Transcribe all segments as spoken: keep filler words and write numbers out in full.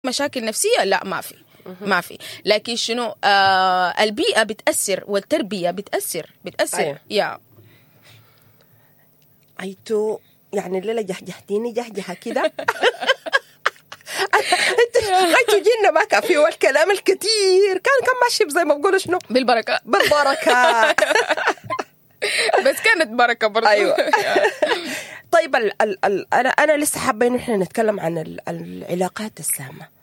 مشاكل نفسية؟ لا، ما في، ما في. لكن شنو؟ آه البيئة بتاثر والتربية بتاثر، بتاثر. أيوة. يا ايتو يعني الليلة جهجهتيني جهجهه كده. انت غايتو جينا ما كان فيه الكلام الكثير، كان كان ماشي زي ما بقولوا شنو؟ بالبركه. بالبركه. بس كانت بركة برضه. ايوه. طيب، ال ال ال انا انا لسه حابة انه احنا نتكلم عن ال العلاقات السامه.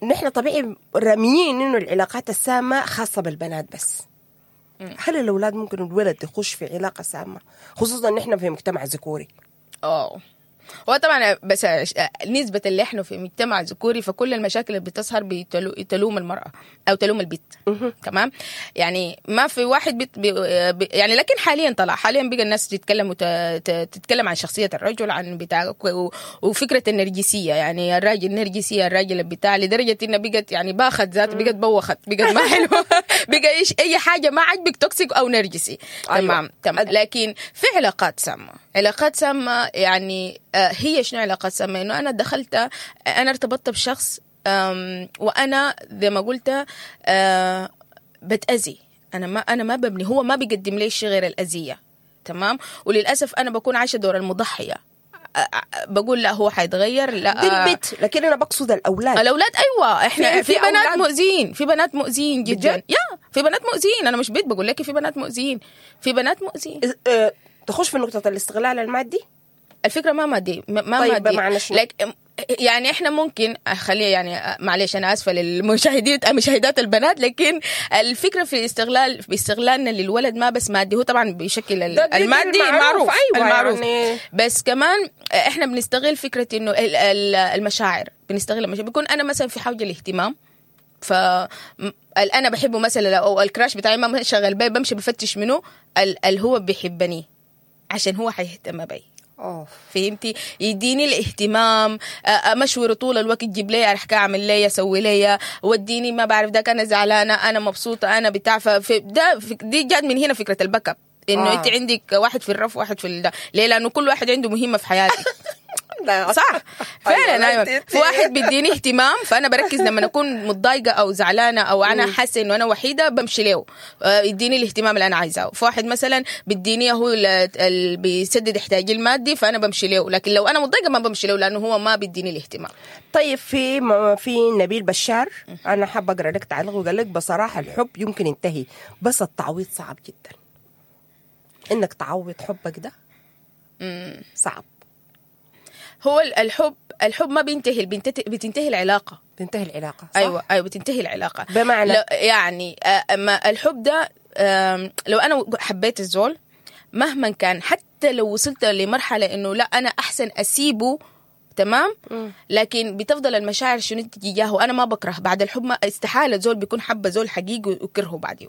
نحن طبيعي راميين انه العلاقات السامة خاصة بالبنات، بس هل الاولاد ممكن الولد يخش في علاقة سامه، خصوصا نحن في مجتمع ذكوري؟ اه، هو طبعا بس نسبة اللي احنا في مجتمع ذكوري، فكل المشاكل اللي بتظهر بتلو- تلوم المرأة او تلوم البت، تمام؟ يعني ما في واحد بت بي بي يعني، لكن حاليا طلع، حاليا بقى الناس تتكلم وت تتكلم عن شخصية الرجل، عن بتاع و- وفكرة النرجسية، يعني الراجل النرجسية، الراجل بتاع، لدرجة انها بقت يعني باخت ذات، بقت بوخت، بقت ما حلوة، بقى ايش اي حاجة ما عجبك toxic او نرجسي. أيوة. تمام تمام. لكن في علاقات سامة، علاقات سامة يعني آه، هي شنو علاقات سامة؟ انه انا دخلت، انا ارتبطت بشخص آم، وانا زي ما قلت آه، بتأذي، انا ما انا ما ببني، هو ما بيقدم لي شيء غير الاذية، تمام؟ وللاسف انا بكون عايشه دور المضحيه، آه، آه، بقول لا هو حيتغير، لا. دي البت، لكن انا بقصد الاولاد. الاولاد ايوه، احنا في- في, في بنات أولاد. مؤذيين، في بنات مؤذيين جدا. بجد؟ يا في بنات مؤذيين، انا مش بيت، بقول لك في بنات مؤذيين، في بنات مؤذيين. آه، تخش في نقطة الاستغلال المادي. الفكرة ما مادي، ما ما طيب، مادي. بمعنى شنو؟ لك يعني احنا ممكن خليه يعني، معلش انا اسفه للمشاهدين مشاهدات البنات، لكن الفكرة في استغلال، في استغلالنا للولد ما بس مادي، هو طبعا بشكل ده- ده- ده المادي المعروف، المعروف. أيوة، المعروف. يعني- بس كمان احنا بنستغل فكرة انه ال- ال- المشاعر، بنستغل المشاعر. بيكون انا مثلا في حوجه الاهتمام، ف انا بحبه مثلا او ال crush بتاعي ما شغال بي، بمشي بفتش منه اللي هو بيحبني عشان هو حيهتم بي. اوف. فهمتي؟ يديني الاهتمام، مشور طول الوقت، جيب لي، ارحك اعمل لي، اسوي لي، وديني، ما بعرف داك، انا زعلانه، انا مبسوطه، انا بتاع. ففي ده دي جات من هنا فكرة ال backup، انه آه. انت عندك واحد في الرف واحد في الدا. ليه؟ لانه كل واحد عنده مهمة في حياتك. لا. صح فعلا. ايوه، في واحد بيديني اهتمام، فانا بركز لما اكون متضايقة او زعلانة او انا حاسه انه انا وحيده، بمشي له يديني الاهتمام اللي انا عايزاه. في واحد مثلا بيديني هو اللي بيسدد احتياجي المادي، فانا بمشي له، لكن لو انا متضايقة ما بمشي له لانه هو ما بيديني الاهتمام. طيب، في في نبيل بشار، انا حابة اقرا لك تعليق، وقال لك بصراحة الحب يمكن ينتهي بس التعويض صعب جدا، انك تعوض حبك ده صعب. هو الحب الحب ما بينتهي، بتنتهي العلاقه. بتنتهي العلاقه، صح؟ ايوه ايوه، بتنتهي العلاقه. بمعنى؟ يعني ما الحب ده لو انا حبيت الزول مهما كان، حتى لو وصلت لمرحلة انه لا انا احسن اسيبه، تمام؟ لكن بتفضل المشاعر شنو تجاهه. انا ما بكره بعد الحب، ما استحالة زول بيكون حب زول حقيقي ويكرهه بعديه.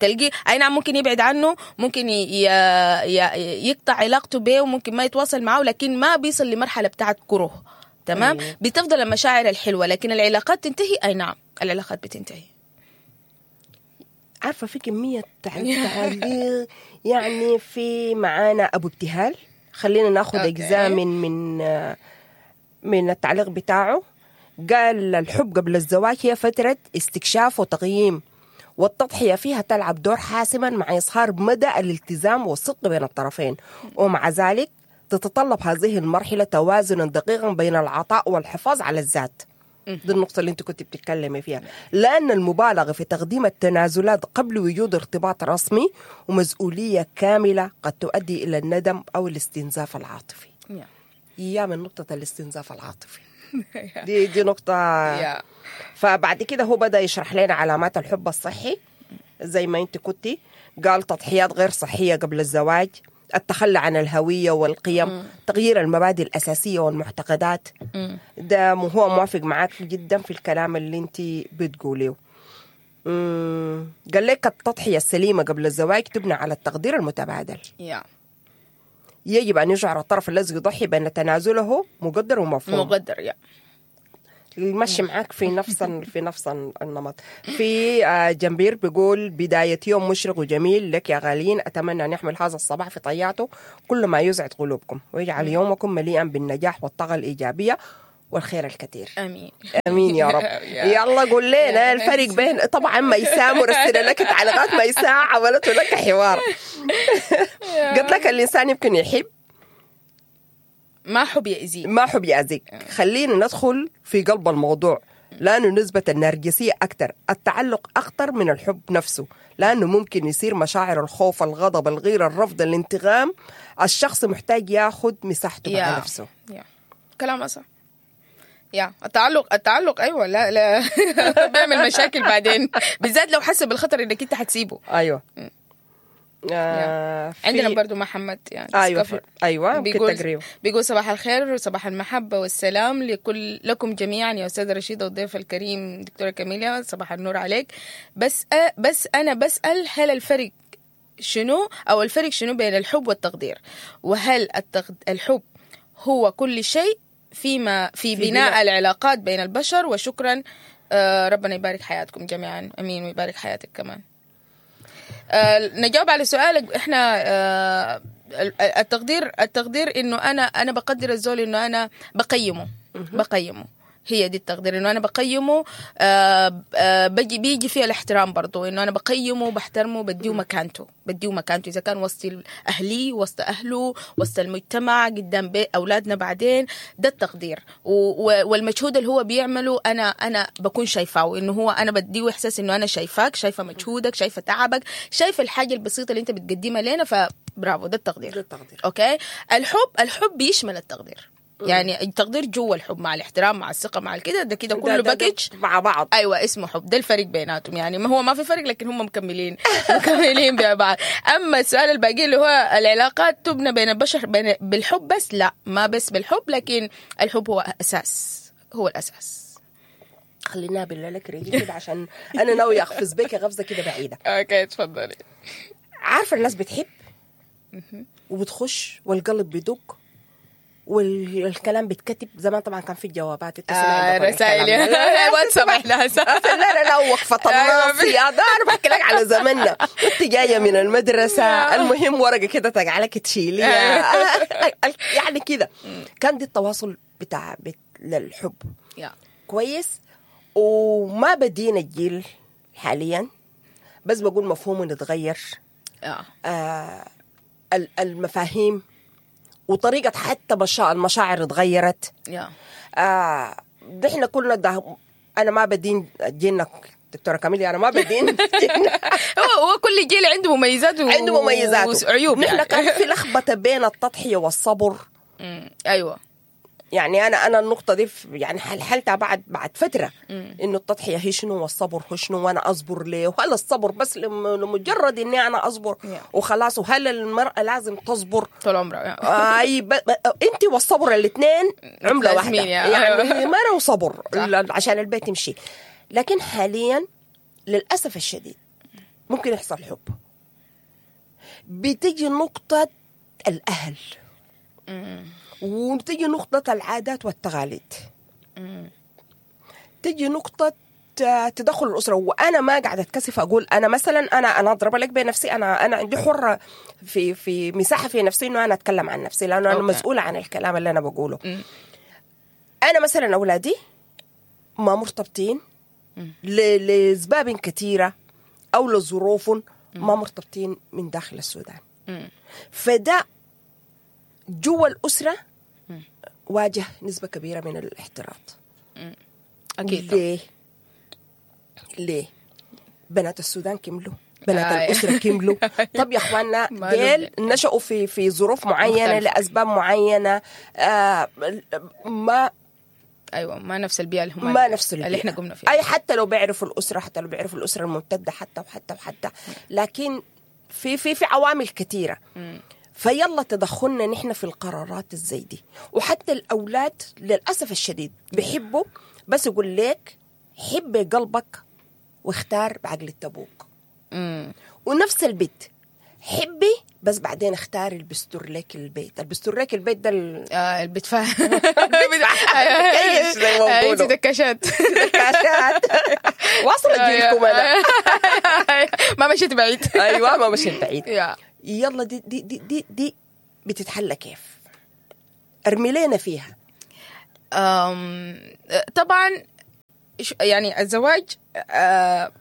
تلقي اي نعم ممكن يبعد عنه، ممكن ي... ي... يقطع علاقته به، وممكن ما يتواصل معه، لكن ما بيصل لمرحلة بتاعت كره، تمام؟ أيه. بتفضل المشاعر الحلوه، لكن العلاقات تنتهي، اي نعم العلاقات بتنتهي. عارفه في كمية تعليق، يعني في معانا ابو ابتهال، خلينا ناخذ اجزاء من من من التعليق بتاعه. قال الحب قبل الزواج هي فترة استكشاف وتقييم، والتضحية فيها تلعب دور حاسما مع إظهار مدى الالتزام والصدق بين الطرفين، ومع ذلك تتطلب هذه المرحلة توازنا دقيقا بين العطاء والحفاظ على الذات. دي النقطة اللي انت كنت بتتكلمي فيها، لأن المبالغة في تقديم التنازلات قبل وجود ارتباط رسمي ومسؤولية كاملة قد تؤدي إلى الندم أو الاستنزاف العاطفي. يا من نقطة الاستنزاف العاطفي دي دي نقطة. فبعد كده هو بدأ يشرح لنا علامات الحب الصحي زي ما انت كنتي، قال تضحيات غير صحية قبل الزواج، التخلي عن الهوية والقيم، تغيير المبادئ الأساسية والمعتقدات. ده هو موافق معاك جدا في الكلام اللي انت بتقوليه. قال لك التضحية السليمة قبل الزواج تبنى على التقدير المتبادل. yeah. يجب أن يشعر الطرف الذي يضحي بأن تنازله مقدر ومفهوم. مقدر، يا ماشي معاك في نفس في نفس النمط. في جنبير بيقول بداية يوم مشرق وجميل لك يا غاليين، أتمنى أن يحمل هذا الصباح في طياته كل ما يسعد قلوبكم ويجعل يومكم مليئا بالنجاح والطاقة الإيجابية والخير الكثير. امين. امين يا رب. يا. يلا قول لنا يا. الفرق بين، طبعا ميساء مرسله لك تعليقات، ميساء عملت لك حوار، قلت لك الانسان يمكن يحب ما حب يأذيك. ما حب يأذيك. خلينا ندخل في قلب الموضوع، لأنه نسبة النرجسية أكثر، التعلق أخطر من الحب نفسه، لأنه ممكن يصير مشاعر الخوف، الغضب، الغيرة، الرفض، الانتقام. الشخص محتاج ياخد مساحته مع yeah. نفسه. yeah كلام صح. yeah التعلق، التعلق ايوه، لا لا بيعمل مشاكل بعدين، بالذات لو حس بالخطر انك انت حتسيبه. أيوة. آه في- عندنا برضو محمد يعني أيوة discover. في... أيوة ممكن بيقول تقريبا. بيقول صباح الخير وصباح المحبة والسلام لكل لكم جميعا يا أستاذة رشيدة والضيف الكريم دكتورة كاميليا، صباح النور عليك. بس أ بس أنا بسأل، هل الفرق شنو أو الفرق شنو بين الحب والتقدير؟ وهل التقد... الحب هو كل شيء فيما في, في بناء, بناء. العلاقات بين البشر؟ وشكرا، آه ربنا يبارك حياتكم جميعا. امين ويبارك حياتك كمان. آه، نجاوب على سؤالك. احنا آه، التقدير، التقدير انه انا انا بقدر الزول، انه انا بقيمة، بقيمة هي دي التقدير، انه انا بقيمة. آه، آه، بجي بيجي فيها الاحترام برضو، انه انا بقيمة، بحترمه، بديه مكانته، بديه مكانته اذا كان وسط اهلي، وسط اهله، وسط المجتمع، قدام بيت اولادنا بعدين. ده التقدير و- و- والمجهود اللي هو بيعمله انا انا بكون شايفاه، انه هو انا بديه احساس انه انا شايفاك، شايفه مجهودك، شايفه تعبك، شايفه الحاجة البسيطة اللي انت بتقدمها لنا، فبرافو، ده التقدير. ده التقدير. okay. الحب، الحب بيشمل التقدير، يعني التقدير جوا الحب مع الاحترام مع الثقة مع الكده، ده كده كله ده- ده package مع بعض. ايوه اسمه حب. ده الفرق بيناتهم، يعني ما هو ما في فرق، لكن هم مكملين مكملين ببعض. اما السؤال الباقي اللي هو العلاقات تبنى بين البشر بين بالحب بس، لا ما بس بالحب، لكن الحب هو اساس، هو الاساس. خلينا بالله لك رجلي كده عشان انا ناوية اقفز بك غفزه كده بعيدة. okay تفضلي. عارفه الناس بتحب وبتخش والقلب بيدق والكلام بيتكتب. زمان طبعا كان في الجوابات، انت سمعت آه عندكم رسائل الكلام ده. لا، لا، واتساب احنا هسه. لا لا لا، وقفة أيوة. الناصية ده أنا بحكي لك على زماننا، أنت جاية من المدرسة، المهم ورقة كده تجعلك تشيليها، يعني كده كان دي التواصل بتاع بت- للحب. yeah كويس. وما بدينا الجيل حاليا، بس بقول مفهومه نتغير، yeah آه ال- المفاهيم وطريقة حتى مشا- المشاعر اتغيرت. yeah آه نحن كلنا ده، انا ما بدين جيلنا دكتورة كاميليا، انا ما بدين جيلنا. هو هو كل جيل عنده مميزات و... عنده مميزاته وعيوب. نحن يعني. كان في لخبطة بين التضحية والصبر. مم. ايوه. يعني انا انا النقطة دي في- يعني حلحلتها بعد بعد فترة، انه التضحية هي شنو والصبر هو شنو، وانا اصبر ليه؟ وهل الصبر بس لم- لمجرد اني انا اصبر Yeah. وخلاص؟ وهل المراة لازم تصبر طول عمرها. اي ب... ب... انت والصبر الاثنين عمله واحدة. لازمين يا- يعني مرة وصبر صح. ل- عشان البيت يمشي. لكن حاليا للاسف الشديد ممكن يحصل حب، بتجي نقطة الاهل وتجي نقطة العادات والتقاليد، تجي نقطة آه، تدخل الأسرة. وأنا ما قاعدة أتكسف أقول أنا مثلا، أنا أنا أضرب لك بنفسي، أنا أنا عندي حرة في في مساحة في نفسي إنه أنا أتكلم عن نفسي، لأنه أنا okay. مسؤولة عن الكلام اللي أنا بقوله. أنا مثلا أولادي ما مرتبطين ل- لأسباب كثيرة أو لظروف، ما مرتبطين من داخل السودان. مم. فده جوا الأسرة واجه نسبة كبيرة من الاحتراط. اكيد طبعاً. ليه؟ ليه؟ بنات السودان كملوا، بنات آه. الأسرة كملوا. طب يا اخواننا ما ديل نشأوا في في ظروف معينة مختلفة. لأسباب معينة، آه ما ايوه ما نفس البيئة اللي هم ما نفس البيئة اللي احنا قمنا فيها. أي حتى لو بيعرفوا الأسرة، حتى لو بيعرفوا الأسرة الممتدة، حتى وحتى وحتى، لكن في في في عوامل كثيرة. فيلا تدخلنا نحن في القرارات الزي دي. وحتى الأولاد للأسف الشديد بيحبوا، بس يقول لك حب قلبك واختار بعقل ابوك. مم. ونفس البيت حبي، بس بعدين اختاري اللي بيستر لك البيت، اللي بيستر لك البيت ده ال- آه البتفا كيش زي ما انت بيقولوا. دكاشات. كاشات واصلة جيلكم انا. ما مشيت بعيد. ايوه ما مشيت بعيد. yeah يلا دي دي دي دي, دي بتتحلى كيف؟ ارمي لنا فيها. أم، طبعا ش- يعني الزواج آه،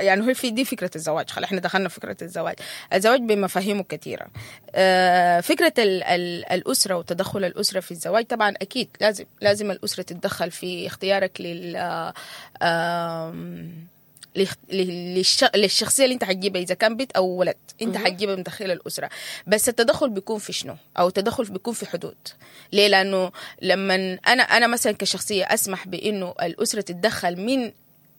يعني هو في دي فكرة الزواج، خلاص احنا دخلنا في فكرة الزواج. الزواج بمفاهيمه كثيرة. آه، فكرة ال ال الأسرة وتدخل الأسرة في الزواج طبعا أكيد لازم لازم الأسرة تتدخل في اختيارك لل آه، آم، لخ- للش- للشخصية اللي انت حتجيبها اذا كان بنت او ولد، انت حتجيبها من داخل الاسرة. بس التدخل بيكون في شنو؟ او التدخل بيكون في حدود. ليه؟ لانه لما انا انا مثلا كشخصية اسمح بانه الاسرة تتدخل من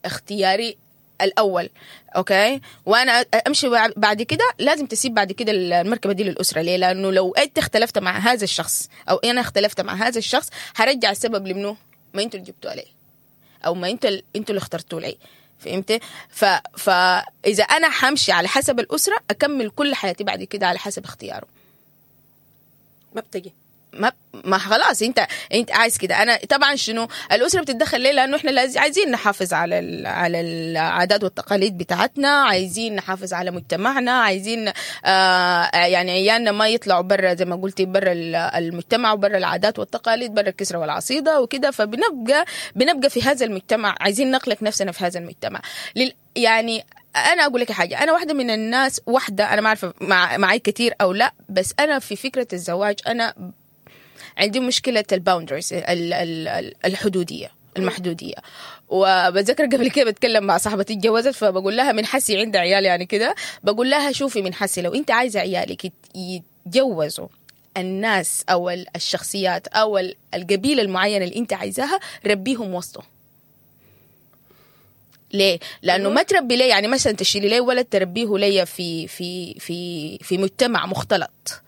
اختياري الاول، okay، وانا امشي بعد كده لازم تسيب بعد كده المركبة دي للاسرة. ليه؟ لانه لو انت اختلفت مع هذا الشخص او انا اختلفت مع هذا الشخص هرجع السبب لمنو؟ ما انتوا اللي جبتوا عليه، او ما انتوا انتوا اللي اخترتوا لي. فهمت؟ ف... فاذا انا حمشي على حسب الاسرة اكمل كل حياتي بعد كده على حسب اختياره. ما بتجي ما ما خلاص انت انت عايز كده. انا طبعا شنو الاسرة بتتدخل ليه؟ لانه احنا لازم عايزين نحافظ على ال... على العادات والتقاليد بتاعتنا، عايزين نحافظ على مجتمعنا، عايزين آه يعني عيالنا ما يطلعوا برا زي ما قلتي، برا المجتمع وبرا العادات والتقاليد، برا الكسرة والعصيده وكده. فبنبقى بنبقى في هذا المجتمع، عايزين نخلق نفسنا في هذا المجتمع. لل... يعني انا اقول لك حاجة، انا واحدة من الناس، واحدة انا ما عارفه مع معي كثير او لا، بس انا في فكرة الزواج انا عندي مشكلة ال boundaries، الحدوديه المحدوديه. وبتذكر قبل كده بتكلم مع صاحبتي اتجوزت، فبقول لها من حسي عندها عيال يعني كده، بقول لها شوفي من حسي لو انت عايزه عيالك يتجوزوا الناس او الشخصيات او القبيلة المعينة اللي انت عايزاها ربيهم وسطه. ليه؟ لانه ما تربي ليه، يعني مثلا تشيلي ليه ولد تربيه ليا في في في في مجتمع مختلط.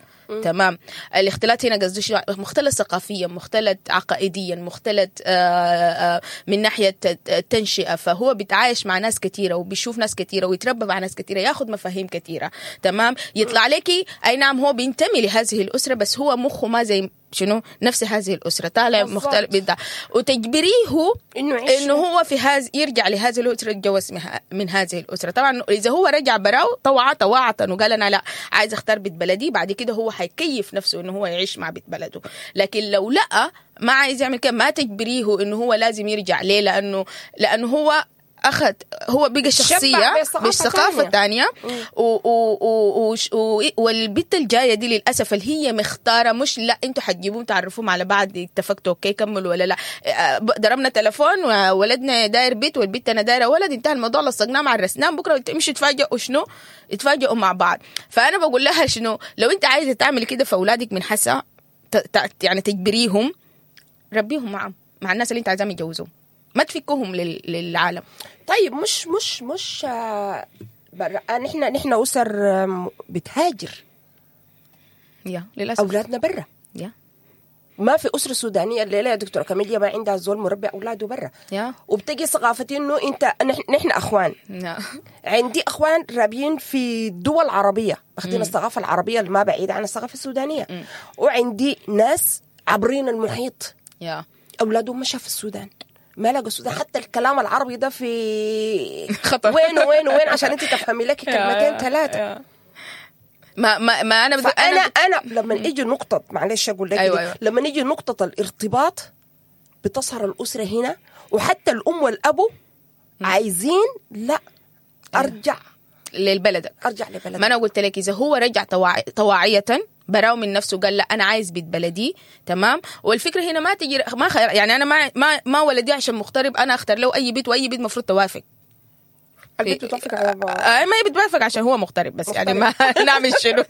تمام. الاختلاط هنا قصدي شنو؟ مختلط ثقافيا، مختلط عقائديا، مختلط آآ آآ من ناحية التنشئه، فهو بيتعايش مع ناس كثيرة وبيشوف ناس كثيرة ويتربى مع ناس كثيرة، ياخذ مفاهيم كثيرة. تمام. يطلع لك اي نعم هو بينتمي لهذه الاسرة، بس هو مخه ما زي شنو نفس هذه الاسرة، طالع مختلف بتاع، وتجبريه انه انه هو في هذا يرجع لهذه الاسرة، يتجوز من هذه الاسرة. طبعا اذا هو رجع براو طوعه طواعه وقال انا لا عايز اختار بيت بلدي، بعد كده هو حيكيف نفسه انه هو يعيش مع بيت بلده. لكن لو لا ما عايز يعمل كده، ما تجبريه انه هو لازم يرجع. ليه؟ لانه لانه هو أخذ هو بقى شخصية بالثقافة الثانية، والبنت الجاية دي للأسف اللي هي مختارة، مش لا انتوا حتجيبوهم تعرفوهم على بعض اتفقتوا okay كملوا ولا لا، ضربنا تلفون وولدنا داير بيت والبنت أنا دايرة ولد، انتهى الموضوع، لصقناه مع الرسنان، بكرة مش تفاجئوا شنو يتفاجئوا مع بعض. فأنا بقول لها شنو لو انت عايزة تعمل كده فأولادك من حسا يعني تجبريهم، ربيهم معهم مع الناس اللي انت عايزاهم يتجوزوهم، ما تفكوهم للعالم. طيب مش مش مش برا، نحن نحن أسر بتهاجر يا للأسف، أولادنا برا. يا ما في أسرة سودانية الليلة يا دكتورة كاميليا ما عندها زول مربي أولاده برا. يا وبتجي ثقافتي إنه أنت نحن أخوان. يا عندي أخوان رابيين في دول عربية باخدين الثقافة العربية اللي ما بعيدة عن الثقافة السودانية. م. وعندي ناس عبرين المحيط يا أولادهم مشى في السودان، ما لقوا السودان، حتى الكلام العربي ده في خطر. وين وين وين عشان انت تفهمي لك كلمتين ثلاثة. ما ما ما انا بدي انا انا لما يجي نقطة، معلش اقول لك، أيوة أيوة. لما يجي نقطة الارتباط بتظهر الاسرة هنا، وحتى الام والابو عايزين لا ارجع للبلد، ارجع لبلدك. ما انا قلت لك اذا هو رجع طواع... طواعيه براو من نفسه قال لا انا عايز بيت بلدي، تمام. والفكرة هنا ما تجي ما خير، يعني انا ما ما ما ولدي عشان مغترب انا اختار له اي بيت، واي بيت المفروض توافق. البيت بتوافق على آه ما هي بتوافق عشان هو مغترب بس مغترب. يعني ما نعمل شنو.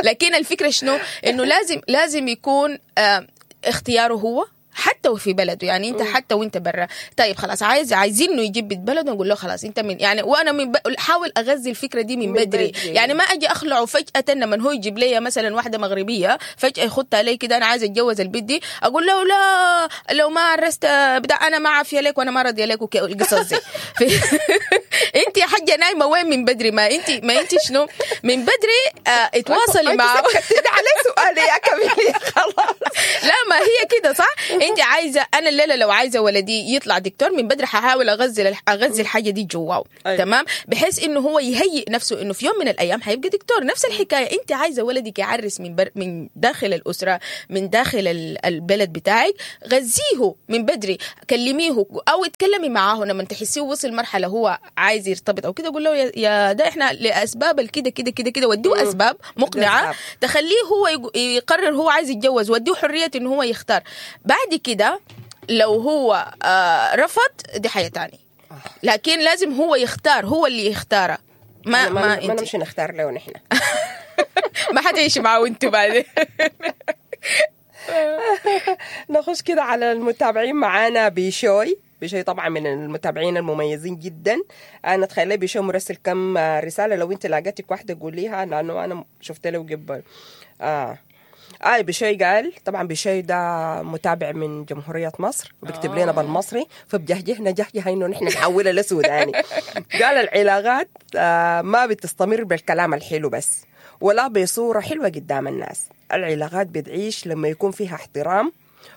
لكن الفكرة شنو؟ انه لازم لازم يكون آه اختياره هو حتى وفي بلده، يعني انت حتى وانت برا. طيب خلاص عايز عايزين انه يجيب بيت بلده، نقول له خلاص انت من يعني، وانا من ب... حاول اغذي الفكرة دي من, من بدري. بدري يعني ما اجي اخلعه فجاة لما هو يجيب لي مثلا واحدة مغربية فجاة يخط علي كده انا عايز اتجوز البيت دي، اقول له لا لو ما عرست بدا انا ما عافية لك وانا ما راضية لك والقصص دي. انت يا حاجة نايمة وين من بدري؟ ما انت ما انت شنو من بدري اه اتواصلي معه. على سؤال طوالي يا كاميليا خلاص. لا ما هي كده صح. انت عايزه، انا الليلة لو عايزه ولدي يطلع دكتور من بدري ححاول اغذي اغذي الحاجة دي جواه. أيوة. تمام، بحيث انه هو يهيئ نفسه انه في يوم من الايام حيبقى دكتور. نفس الحكاية، انت عايزه ولدك يعرس من بر... من داخل الاسرة، من داخل ال- البلد بتاعك، غذيه من بدري، كلميه او اتكلمي معاه لما تحسيه وصل مرحلة هو عايز يرتبط او كده، قول له يا- يا ده احنا لاسباب الكده كده كده كده، وديه اسباب مقنعة أسباب. تخليه هو يق- يقرر هو عايز يتجوز، وديه حرية انه هو يختار. بعد كده لو هو آه رفض دي حاجة تانية، لكن لازم هو يختار، هو اللي يختاره، ما ما ما ما انت نمشي نختار له نحن. ما حتعيشي معه انتوا بعدين. نخش كده على المتابعين معانا. بيشوي، بيشوي طبعا من المتابعين المميزين جدا. انا تخيل بيشوي مرسل كم رسالة، لو انت لاقتك واحدة قوليها لانه انا شفت له قبل. اه آه بشوي قال، طبعا بشوي ده متابع من جمهورية مصر وبيكتب لنا بالمصري، فبجهجهنا جهجه انه نحن نحولها لسوداني. قال العلاقات آه ما بتستمر بالكلام الحلو بس، ولا بصورة حلوة قدام الناس. العلاقات بتعيش لما يكون فيها احترام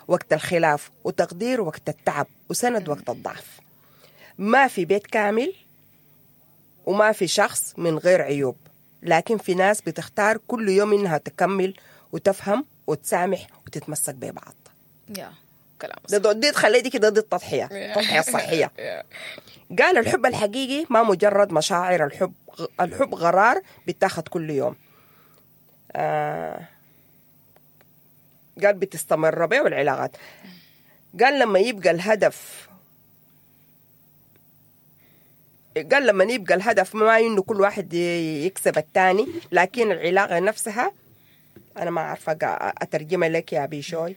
وقت الخلاف، وتقدير وقت التعب، وسند وقت الضعف. ما في بيت كامل وما في شخص من غير عيوب، لكن في ناس بتختار كل يوم إنها تكمل وتفهم وتسامح وتتمسك ببعض. يا كلام ده ده- دي تخلي دي كده، دي التضحية، التضحية الصحية. قال الحب الحقيقي ما مجرد مشاعر، الحب الحب قرار بيتاخد كل يوم. آه قال بتستمر به والعلاقات. قال لما يبقى الهدف، قال لما يبقى الهدف ما انه كل واحد يكسب الثاني، لكن العلاقة نفسها. انا ما عارفه قا- اترجمها لك يا بيشوي.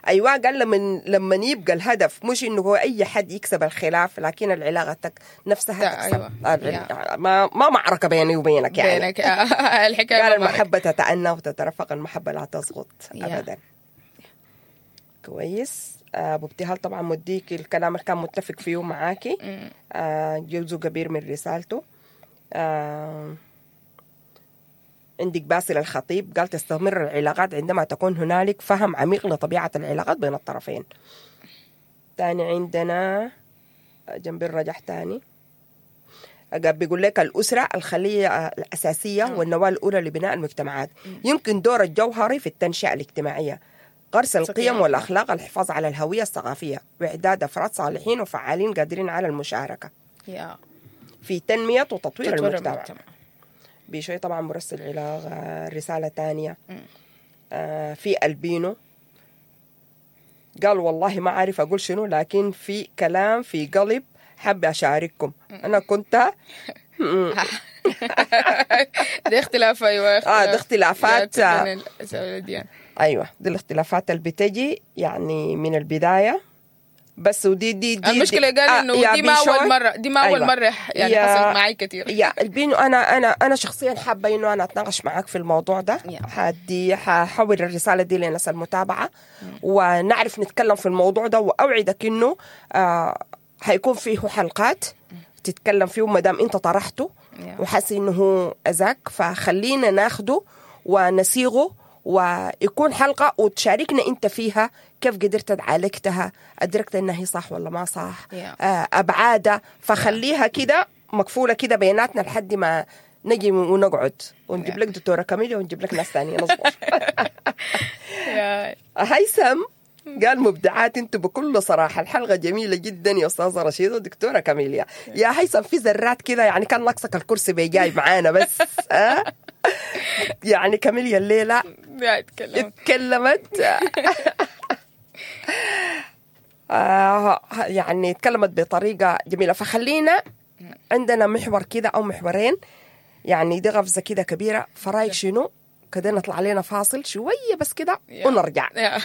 ايوه، قال لما لما يبقى الهدف مش انه هو اي حد يكسب الخلاف، لكن العلاقة تك نفسها لا، تكسب. أيوة. آه، ما ما معركة بيني وبينك يعني. بينك الحكاية قال ما معك. المحبة تتأنى وتترفق، المحبة لا تسقط يا. أبدا. كويس. آه، أبو ابتهال طبعا مديك الكلام اللي كان متفق فيه معاكي، آه، جزء كبير من رسالته. آه، عندك باسل الخطيب قال تستمر العلاقات عندما تكون هنالك فهم عميق لطبيعة العلاقات بين الطرفين. تاني عندنا جنب الرجح تاني قال بيقول لك الأسرة الخلية الأساسية والنواة الأولى لبناء المجتمعات، يمكن دور الجوهري في التنشئة الاجتماعية، غرس القيم والأخلاق، الحفاظ على الهوية الثقافية، وإعداد أفراد صالحين وفعالين قادرين على المشاركة يا في تنمية وتطوير تطوير المجتمع. المجتمع. بشوي طبعا مرسل علاقة رسالة تانية. آه في البينو قال والله ما عارف أقول شنو، لكن في كلام في قلب حابة أشارككم. أنا كنت ده اختلاف. ايوه آه، ده اختلافات. يا بين الأديان. أيوة دي الاختلافات اللي بتجي يعني من البداية بس. ودي دي دي المشكلة دي قال آه، انه يا دي ما بيشوي. اول مرة، دي ما اول أيوة. مرة يعني يا- حصلت معي كثير. يا البينو انا انا انا شخصيا حابة انه انا اتناقش معاك في الموضوع ده. يا. حدي ححول الرسالة دي لناس المتابعة ونعرف نتكلم في الموضوع ده، واوعدك انه آه حيكون فيه حلقات تتكلم فيه ما دام انت طرحته يا. وحاسس انه هو اذاك، فخلينا ناخده ونسيغه ويكون حلقة وتشاركنا انت فيها كيف قدرت تعالجتها، ادركت انها هي صح ولا ما صح، Yeah. آه، ابعادها. فخليها كده مقفولة كده بيناتنا لحد ما نجي ونقعد ونجيب Yeah. لك دكتورة كاميليا ونجيب لك ناس ثانية نصبر. يا. هيثم قال مبدعات انتوا بكل صراحة، الحلقة جميلة جدا يا استاذه رشيده ودكتوره كاميليا. يا هيثم في ذرات كده يعني كان ناقصك الكرسي بيجاي معانا بس. آه؟ يعني كاميليا الليلة لا اتكلم. اتكلمت آه يعني اتكلمت بطريقة جميلة. فخلينا عندنا محور كده او محورين، يعني دي غفزه كده كبيرة. فرايك شنو كده نطلع علينا فاصل شوية بس كده يا. ونرجع؟ يا.